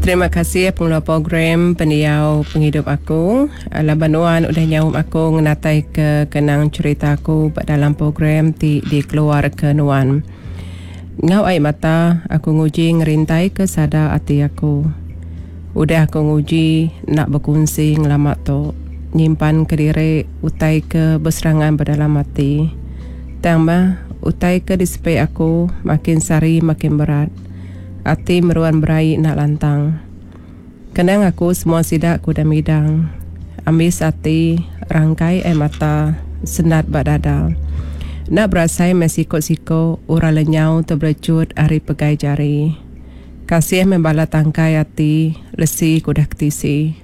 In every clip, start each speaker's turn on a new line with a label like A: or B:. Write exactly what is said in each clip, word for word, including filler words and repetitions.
A: Terima kasih pengeluar program Pendiau Pengidup Aku laban nuan udah nyaup aku ngenataika kenang cherita aku ba dalam program ti dikeluarka nuan. Enggau ai mata aku nguji ngerintaika sada ati aku. Udah aku nguji enda bekunsi ngelama tu nyimpan kediri utai ke beserangan ba dalam ati. Tang mah utai ke disepi aku makin sehari makin berat. Ati meruan beraie enda lantang. Kenang aku semua sida ke udah midang. Ambis ati, rangkai ai mata, sendat ba dada. Enda berasai meh siko-siko orang lenyau tebelechut ari pegai jari. Kasih meh bala tangkai ati lesi ke udah ketisi.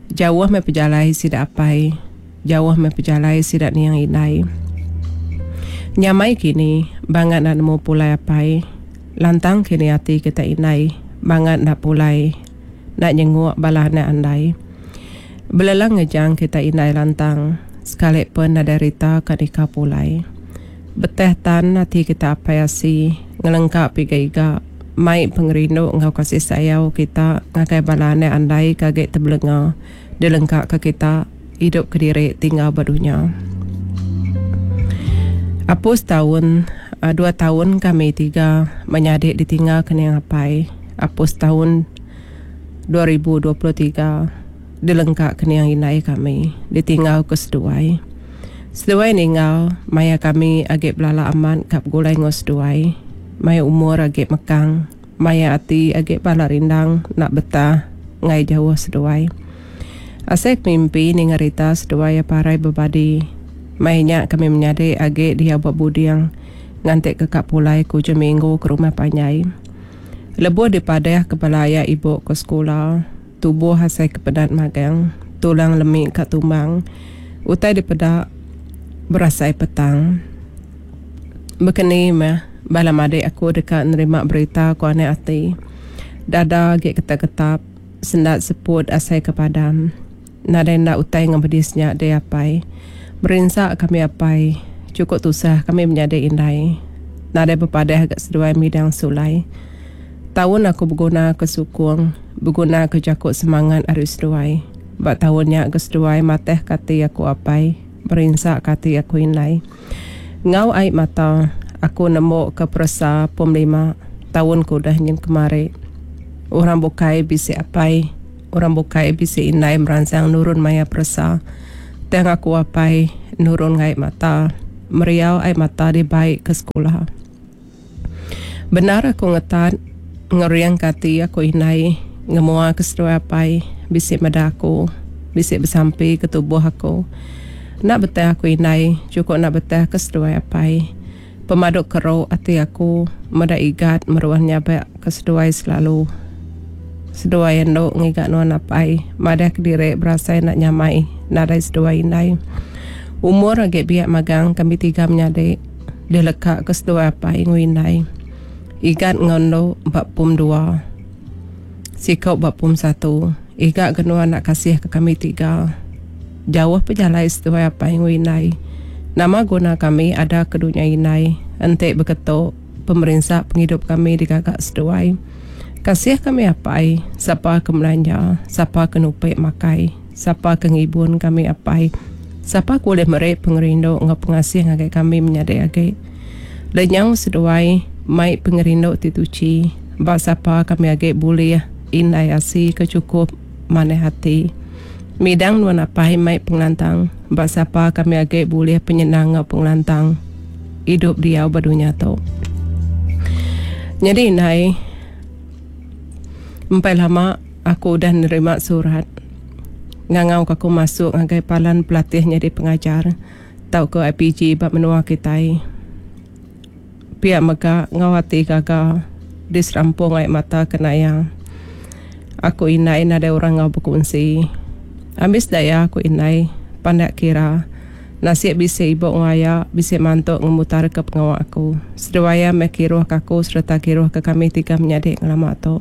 A: Jauh meh pejalai sida apai, jauh meh pejalai sida niang indai. Nyamai kini bangat enda nemu pulai apai. Lantang kini ati kita indai bangat enda pulai enda nyenguk bala anak andai. Belelang ngejang kita indai lantang sekali pen nadai rita ka deka pulai. Beteh tan ati kita apai asi ngelengka piga iga mai pengerindu enggau kasih sayau kita ngagai bala anak andai ke agi tebelenga dilengka ka kita idup kediri tinggal ba dunya. Apus taun dua taun kami tiga menyadi ditinggal ke niang apai. Apus taun dua ribu dua puluh tiga dilengka ke niang indai kami ditinggal ke seduai. Seduai ninggal maya kami agi belala amat ka begulai enggau seduai. Maya umur agi mekang, maya ati agi bala rindang enda betah enggai jauh seduai. Asai ke mimpi ninga rita seduai iya parai bebadi. Maya nya kami menyadi agi diau ba buding nganti ke ka pulai ke ujung minggu ke rumah panjai. Lebuh dipadah ke bala aya ibu ke sekula, tubuh asai ke penat magang, tulang lemi ka tumbang, utai dipeda berasai petang. Bekeni meh bala madik aku deka nerima berita ku anak ati. Dada agi ketap-ketap, sendat seput asai ke padam. Nadai enda utai ngemedis nya deh apai. Merinsa kami apai, chukup tusah kami menyadi indai. Nadai bepadah ga seduai midang sulai. Taun aku beguna ke sukung, beguna ke jaku semangat ari seduai. Ba taun nya ga seduai matah ke ati aku apai, merinsa ke ati aku indai. Enggau ai mata, aku nembu ke peresa pom lima taun ke udah nyin kemari. Orang bukai bisi apai, orang bukai bisi indai meransang nurun maya peresa. Tang aku apai nurun ai mata, meriau ai mata dibai ke sekula. Bendar aku ngetat ngering ke ati aku indai ngemua ke seduai apai bisi meda aku, bisi besampi ke tubuh aku. Enda betah aku indai, chukup enda betah ke seduai apai. Pemadu keru ati aku meda igat meruan nyabak ke seduai selalu. Seduai endu ngiga nuan apai, madah kediri berasai enda nyamai nadai seduai indai. Umur agi biak magang kami tiga menyadi dileka ke seduai apai enggau indai. Igat enggau endu ba pum dua. Siko ba pum satu. Iga ke nuan enda kasih ke kami tiga. Jauh pejalai seduai apai enggau indai. Nama guna kami ada ke dunya indai enti beketu pemerinsa pengidup kami digaga seduai. Kasih kami apai, sapa ke melanja, sapa ke nupi makai, sapa ke ngibun kami apai, sapa ke ulih meri pengerindu enggau pengasih ngagai kami menyadi agi. Lenyau seduai mai pengerindu ti tuchi ba sapa kami agi bulih indai asi ke chukup manah ati. Midang nuan apai mai pengelantang ba sapa kami agi bulih penyenang enggau pengelantang idup diau ba dunya tu. Nyadi indai, empai lama aku udah nerima surat ngangau ka aku masuk ngagai palan pelatih nyadi pengajar tauka I P G ba menua kitai. Pia mega enggau ati gaga diserampung ai mata kena iya. Aku indai nadai orang enggau bekunsi. Ambis daya aku indai pandak kira. Nasib bisi ibu enggau aya bisi mantu ngemutarka pengawa aku. Seduai iya meh kiruhka aku sereta kiruhka kami tiga menyadi ngelama tu.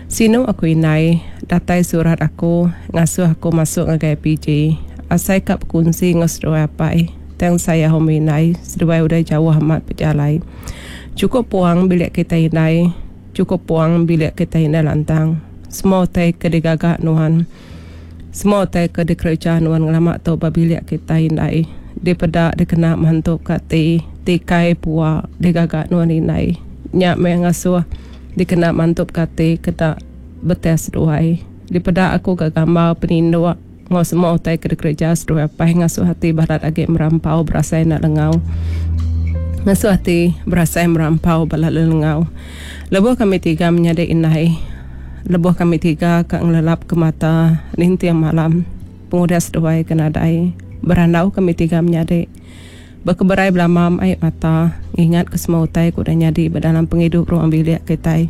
A: Sinu aku indai, datai surat aku ngasuh aku masuk ngagai I P G. Asai ka bekunsi enggau seduai apai. Tang sayau meh indai, seduai udah jauh amat pejalai. Chukup puang bilik kitai indai, chukup puang bilik kitai indai lantang. Semua utai ke digaga nuan, semua utai ke dikereja nuan ngelama tu ba bilik kitai indai. Dipeda dikena mantu ka ati, tikai pua digaga nuan indai. Nya meh ngasuh dikena mantup ka ati kena betih seduai. Dipeda aku ga gambar peninduk enggau semua utai ke dikereja seduai apai ngasuh ati balat agi merampau berasai enda lengau. Ngasuh ati berasai merampau balat lelengau. Lebuh kami tiga menyadi indai, lebuh kami tiga ka ngelelap ke mata ninting malam pengudah seduai ke nadai berandau kami tiga menyadi. Bekeberai belama ai mata ngingat ke semua utai ke udah nyadi ba dalam pengidup ruang bilik kitai.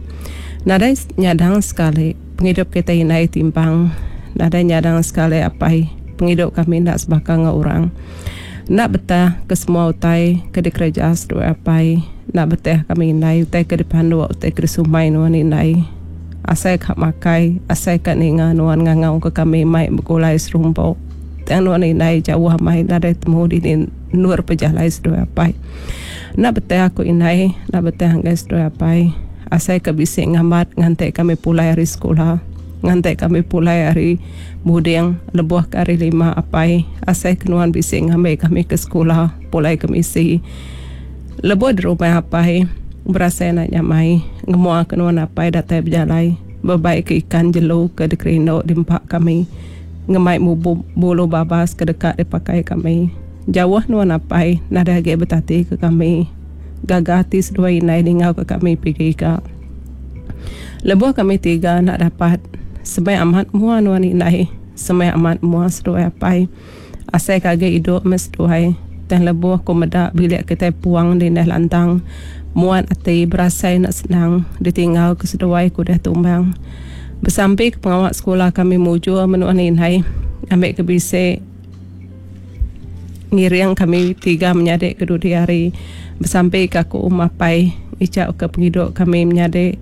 A: Nadai nyadang sekali pengidup kitai indai timpang. Nadai nyadang sekali apai pengidup kami enda sebaka enggau orang. Enda betah ke semua utai ke dikereja seduai apai. Enda betah kami indai utai ke dipanduk utai ke disumai nuan indai. Asai ka makai asai ka ninga nuan ngangau ke kami mai begulai serumpu. Tang nuan indai jauh amai nadai temu dini endur pejalai seduai apai. Enda betah aku indai enda betah enggai seduai apai. Asai ka bisi ngambat nganti kami pulai ari sekula. Nganti kami pulai ari buding lebuh ke hari lima apai. Asai ke nuan bisi ngambi kami ke sekula pulai ke misi. Lebuh di rumah apai berasai enda nyamai ngemua ke nuan apai datai bejalai bebai ke ikan jelu ke dikerindu diempa kami. Ngemai bulu babas ke deka dipakai kami. Jauh nuan apai nadai agi betati ke kami. Gaga ati seduai indai ningau ke kami pigi iga. Lebuh kami tiga enda dapat semai amat mua nuan indai, semai amat mua seduai apai. Asai ke agi idup meh seduai. Tang lebuh ku meda bilik kitai puang dindai lantang, muat ati berasai enda senang ditinggal ke seduai ke udah tumbang. Besampi ke pengawa sekula kami mujur meh nuan indai ngambi ke bisi ngiring kami tiga menyadi ke dudi hari. Besampi ke aku mapai ngichau ke pengidup kami menyadi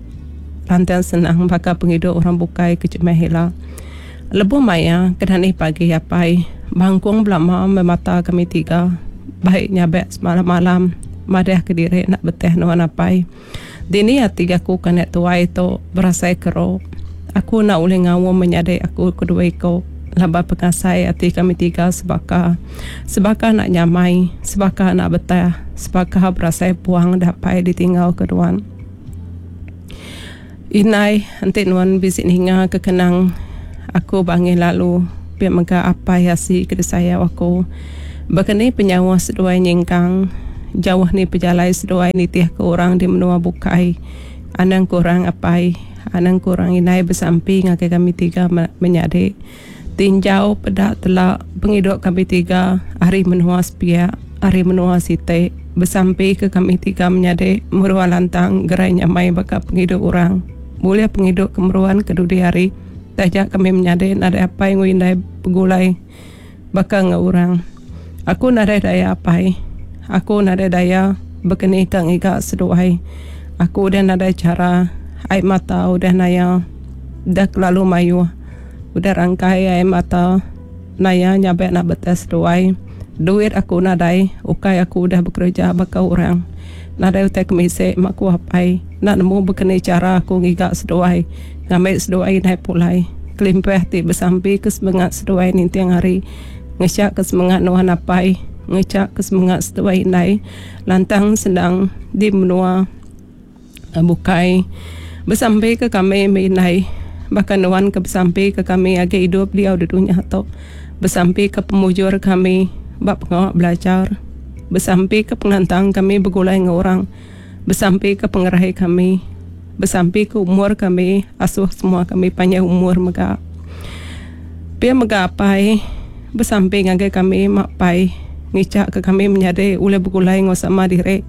A: lantang senang baka pengidup orang bukai ke jemah ila. Lebuh maya ke dani pagi apai bangkung belama meh mata kami tiga bai nyabak semalam-malam madah kediri enda betih nuan apai. Dini ati aku ke anak tuai tu berasai keru. Aku enda ulih ngaum menyadi aku ke dua iku laban pengasai ati kami tiga sebaka. Sebaka enda nyamai, sebaka enda betah, sebaka berasai puang dapai ditinggal ke nuan. Indai enti nuan bisi ninga ke kenang aku bangih lalu pia mega apai asi ke disayau aku. Baka ni penyauh seduai nyingkang jauh ni pejalai seduai nitih ke orang di menua bukai. Anang kurang apai, anang kurang indai besampi ngagai kami tiga menyadi. Tinjau peda tela pengidup kami tiga ari menua sepiak, ari menua siti. Besampi ke kami tiga menyadi meruan lantang gerai nyamai baka pengidup orang. Bulih pengidup ke meruan ke dudi hari. Taja kami menyadi nadai apai enggau indai begulai baka enggau orang. Aku nadai daya apai. Aku nadai daya bekeni ka ngiga seduai. Aku udah nadai chara. Ai mata udah naya. Udah kelalu mayuh. Udah rangkai ai mata naya nyabak nak beteh seduai. Duit aku nadai. Ukai aku udah bekereja baka orang. Nadai utai kemisi mak ku apai. Enda nemu bekeni chara aku ngiga seduai. Ngambi seduai indai pulai. Kelimpah ti besampi ke semengat seduai ninting hari. Ngecha ke semengat nuan apai. Ngecha ke semengat seduai indai. Lantang senang di menua bukai. Besampi ke kami meh indai. Baka nuan ke besampi ke kami agi idup diau di dunya tu. Besampi ke pemujur kami ba pengawa belajar. Besampi ke pengelantang kami begulai enggau orang. Besampi ke pengerai kami. Besampi ke umur kami asuh semua kami panjai umur mega. Pia mega apai besampi ngagai kami mak pai ngicha ke kami menyadi ulih begulai enggau sama diri.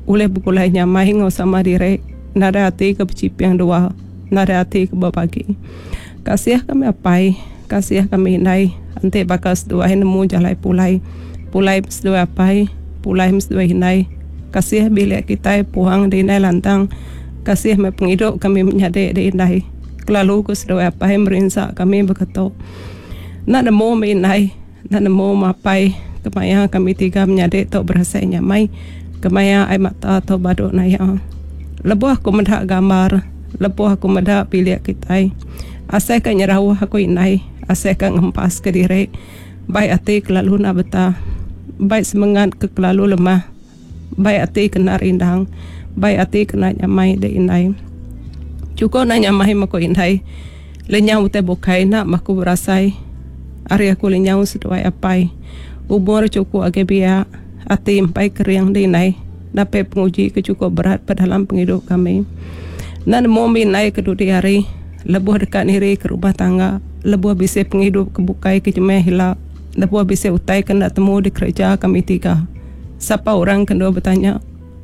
A: Ulih begulai nyamai enggau sama diri. Nadai ati ke bechiping dua. Nadai ati ke bebagi. Kasih kami apai, kasih kami indai enti baka seduai nemu jalai pulai. Pulai meh seduai apai, pulai meh seduai indai. Kasih bilik kitai puang di indai lantang. Kasih meh pengidup kami menyadi di indai. Kelalu ku seduai apai merinsa kami baka tu. Enda nemu meh indai, enda nemu meh apai kemaya kami tiga menyadi tu berasai nyamai. Kemaya ai mata tu badu naya. Lebuh aku meda gambar, Lebuh aku meda bilik kitai. Asai ka nyerauh aku indai, asai ka ngempas ke diri. Bai ati kelalu enda betah. Bai semengat ke kelalu lemah. Bai ati kena rindang. Bai ati kena nyamai dek indai. Chukup enda nyamai meh ku indai. Lenyau utai bukai enda meh aku berasai. Ari aku lenyau seduai apai. Umur chukup agi biak. Ati empai kering dek indai. Napi penguji ke chukup berat ba dalam pengidup kami. Enda nemu mih indai ke dudi hari lebuh deka niri ke rumah tangga, lebuh bisi pengidup ke bukai ke jemah ila, lebuh bisi utai ke enda temu dikereja kami tiga. Sapa orang ke endur betanya?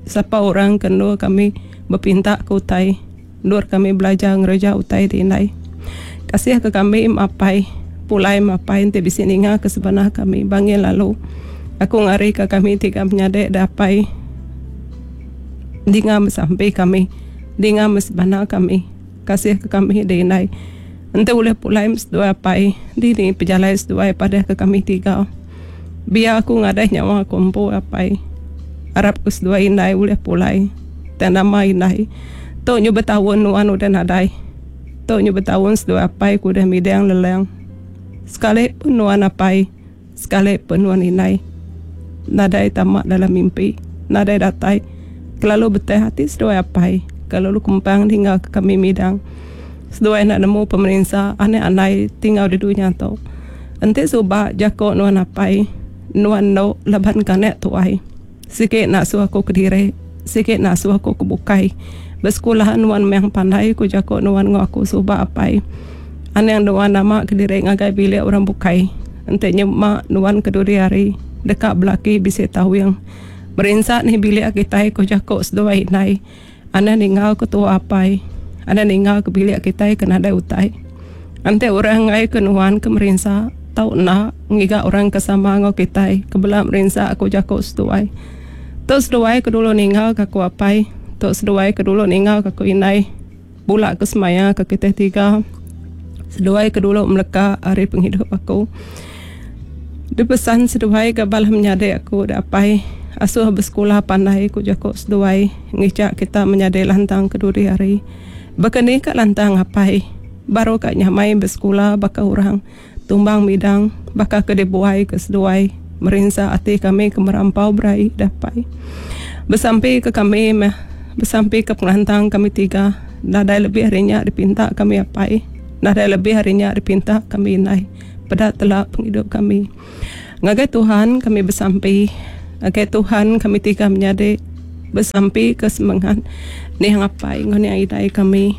A: Sapa orang ke endur kami bepinta ke utai? Endur kami belajar ngereja utai ti indai. Kasih ke kami mapai pulai mapai enti bisi ninga ke sebana kami bangil lalu. Aku ngari ke kami tiga menyadi da apai dinga besampi kami dinga mesebana kami. Kasih ke kami di indai. Enti ulih pulai seduai apai dini pejalai seduai padah ke kami tiga. Biar aku ngadai nyawa aku empu apai. Arap ke seduai indai ulih pulai. Tang nama indai. Tu nyu betaun nuan udah nadai. Tu nyu betaun seduai apai ku udah midang lelang. Sekali pun nuan apai, sekali pun nuan indai. Nadai tama dalam mimpi. Nadai datai. Kelalu beteh ati seduai apai. Kelalu kempang ninggal ke kami midang. Seduai enda nemu pemerinsa anak andai tinggal di dunya tu. Enti suba jako nuan apai, nuan endo laban ke anak tuai. Sigi enda suah aku kediri, sigi enda suah aku ke bukai. Besekula nuan meh pandai ku jako nuan enggau aku suba apai. Anang nuan nama kediri ngagai bilik orang bukai. Enti nyema nuan ke dudi hari deka belaki bisi tawing. Merinsa nih bilik kitai ku jako seduai indai. Anang ninggal ke tua apai. Anang ninggal ke bilik kitai ke nadai utai. Enti orang enggai ke nuan ke merinsa tau enda ngiga orang ke sama enggau kitai ke bela merinsa ku jaku seduai. Tu seduai ke dulu ninggal ke aku apai. Tu seduai ke dulu ninggal ke aku indai. Bula ke semaya ke kitai tiga. Seduai ke dulu meleka ari pengidup aku. Dipesan seduai ga bala menyadi aku da apai asuh besekula pandai ku jaku seduai ngicha kita menyadi lantang ke dudi hari. Baka ni ka lantang apai baru ka nyamai besekula baka orang tumbang midang baka ke dibuai ke seduai merinsa ati kami ke merampau beraie da apai. Besampi ke kami meh besampi ke pengelantang kami tiga nadai lebih ari nya dipinta kami apai nadai lebih ari nya dipinta kami indai. Peda tela pengidup kami. Ngagai Tuhan kami besampi. Ngagai Tuhan kami tiga menyadi besampi ke semengat niang apai enggau niang indai kami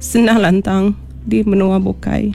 A: senang lantang di menua bukai.